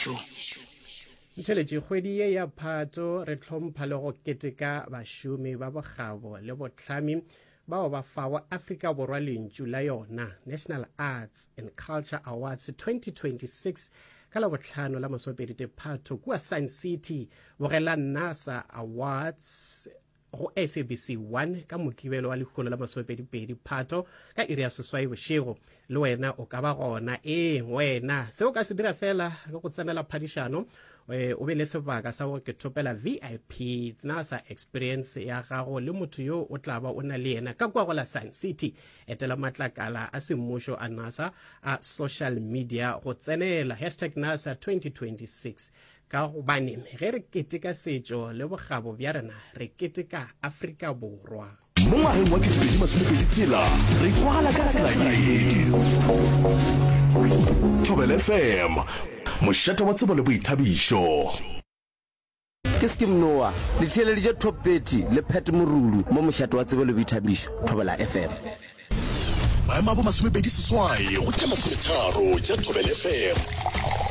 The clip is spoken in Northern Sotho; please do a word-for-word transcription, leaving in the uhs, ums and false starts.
Boithabišo. Ntheletše kgwedi ye ya Phato re hlompha le go keteka bašomi ba bokgabo le bohlami bao ba fago Afrika Borwa lentšu la yona National Arts and Culture Awards twenty twenty-six ka Labohlano la masomepedi Phato kua Sun City. Bogela NASA Awards go S A B C one ka Mokibelo wa lekgolo la masomepedi Phato ka iri ya seswai bošego. Le wena o ka ba gona. Ee, wena se o ka se dira fela ke go tsenela phadišano, eh, o be le sebaka sa go ke thopela V I P NASA experience ya gago le motho yo o tla ba o na le yena ka kwa go la Sun City. Etela matlakala a semmušo a NASA a social media go tsenela hashtag NASA twenty twenty-six, ka gobane ge re keteka setšo le bokgabo bja rena, re keteka Afrika Borwa. Mo ngwageng wa ketepedi masomepedi tshela re kwagala ka tsela ye. Thobela F M, mošate wa tsebo le boithabišo. Ke Skim Noa, le theeleditše Top thirty le Pat Morulu mo mošate wa tsebo le boithabišo, Thobela F M. Maemo a bo masomepedi seswai go tše masometharo tša Thobela F M.